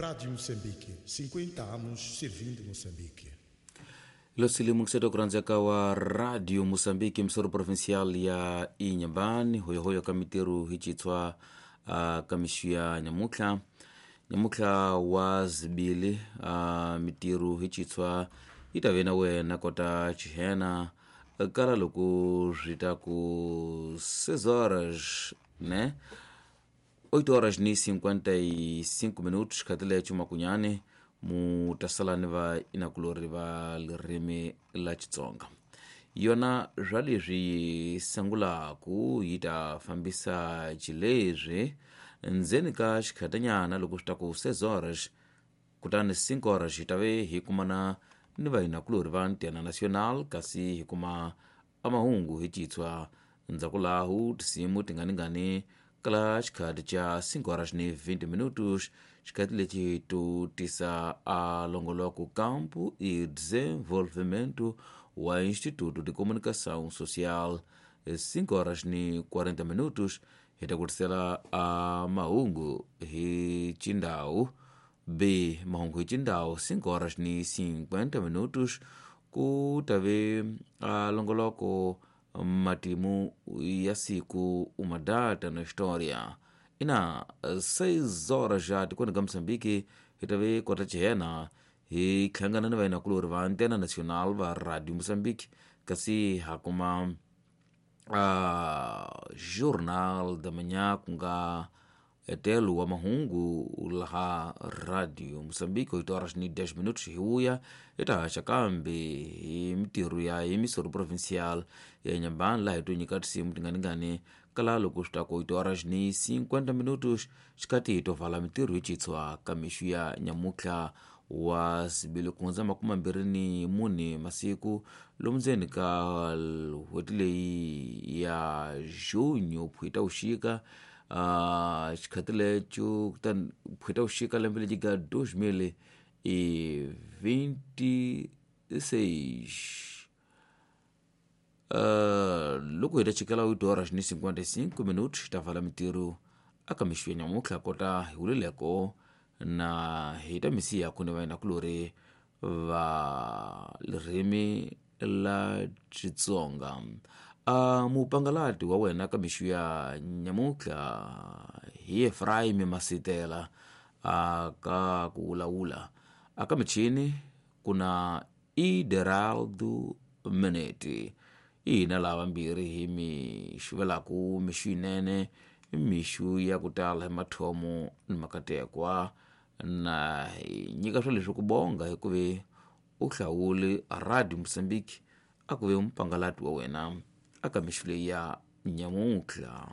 Rádio Moçambique, 50 anos servindo Moçambique. Losili mungiseto kuranzaka wa Radio Moçambique, msoro provincial ya Inhambane, hoyohoyo kamiteru hichitswa kamishu ya nyamutlha nyamutlha wa zibili mitiru hichitswa itave na wena kota chihena kala loko swi ta ku 6 horas, né? 8 horas ni 55 minutos khatile chumakunyane mutasala ni va inakulori va lirimi la Xitsonga. Yona swa leswi yi sungulaku yi ta fambisa xileswi ndzeni ka xikhatanyana loko swi ta ku 6 horas, kutani 5 horas hi ta ve hi kumana ni vahinakulori va Antena Nacional, kasi hi kuma amahungu hi citshwa ndzhaku lahu tinsimu tinganingani kala xikhati xa 5 horas ni 20 minutos, xikhati lexi to tisa a longoloko Campo e Desenvolvimento wa Instituto de Comunicação Social. 5 horas ni 40 minutos hi ta ku tisela a mahungu hi xindhawu b mahungu hi xindhawu 5 horas ni 50 minutos ku ta ve a longoloko matimu ya siku uma data na história. Ina 6 horas já tikweni ka Moçambique hi ta ve kota chihena hi hlangana ni vahinakulori va Antena Nacional va Radio Moçambique, kasi ha kuma Jornal da Manhã ku nga etelo wa mahungu laha Radio Moçambique 8 horas ni 10 minutos hi vuya hi ta haxa kambe hi mitirho ya emisoro provincial ya Inhambane, laha hi to nyika tinsimu tinganingani kala loko swi ta ku 8 horas ni 50 minutos xikati hi to vala mitirho hi citshwa ka mixu ya nyamutlha wa sibili ku hundza 24 masiku lomu ndzeni ka n'hweti leyi ya junho phwita vuxika xikhati leco kutani phwita vuxika lembe lexi ga 2026. Loko hi ta chikela 8 horas ni 55 minutos ta vala mitirho aka mixu ya nyamutlha kota hi wulileko na hi ta misiya ku ni vahinakulori va ririmi la Xitsonga. Mupangalati wa wena ka mixu ya nyamutlha hi Efraim Masitela ka ku wulawula aka michini ku na Ideraldo Meneti. Hina lava mbirhi hi mi xuvelaku mixu yinene, mixu ya ku tala hi mathomo ni makatekwa, na hi nyika swa leswi ku bonga hikuva u hlawule Radio Moçambique a ku ve mupangalati wa wena aka mixu leyi ya nyamutlha.